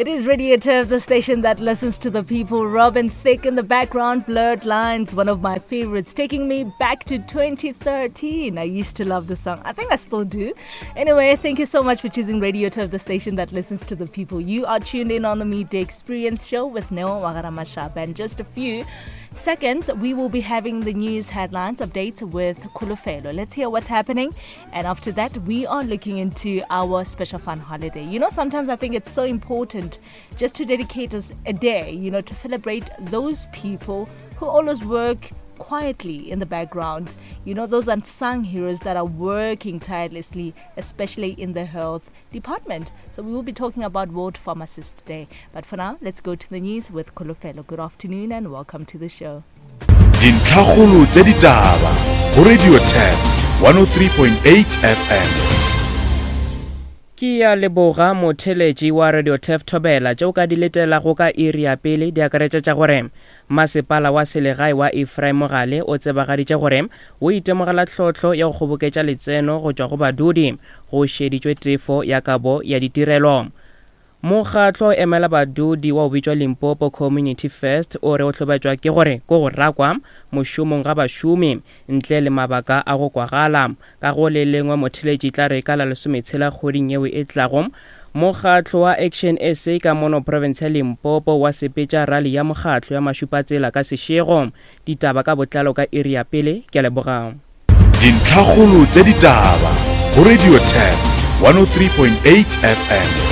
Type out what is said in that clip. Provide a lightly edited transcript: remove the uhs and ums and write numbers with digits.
It is Radio Turf, the station that listens to the people. Robin Thicke in the background, Blurred Lines, one of my favorites, taking me back to 2013. I used to love the song. I think I still do. Anyway, thank you so much for choosing Radio Turf, the station that listens to the people. You are tuned in on the Midday Experience show with Neo Wagaramashab. And just a few seconds, we will be having the news headlines updates with Kulufelo. Let's hear what's happening. And after that, we are looking into our special fun holiday. You know, sometimes I think it's so important just to dedicate us a day, you know, to celebrate those people who always work quietly in the background. You know, those unsung heroes that are working tirelessly, especially in the health department. So we will be talking about World Pharmacist Day. But for now, let's go to the news with Kolofelo. Good afternoon and welcome to the show. Dintlhakgolo tša ditaba go Radio Turf 103.8 FM. Ke ya leboga motheletši wa Radio Turf Thobela tše o ka di letelago ka iri ya pele di akaretša tša gore Masepala wa selegae wa Ephraim Mogale o tsebagaditše gore o itemogela tlhohlo ya go kgoboketša letseno go tšwa go badudi go šeditšwe tefo ya kabo ya ditirelo. Mokgatlo o emela badudi wa go bitšwa Limpopo Community First o re o hlobaetšwa ke gore ko go rakwa mošomong ga bašomi ntle le mabaka a go kwagala. Ka go le lengwe motheletši tla re ka la lesometshela kgweding yeo e tlago, mokgatlo wa Action SA ka mono profense ya Limpopo wa sepetša rali ya mokgatlo ya mašupatsela ka sešego. Ditaba ka botlalo ka iri ya pele. Ke a leboga. Dintlhakgolo tša ditaba go Radio Turf 103.8 FM.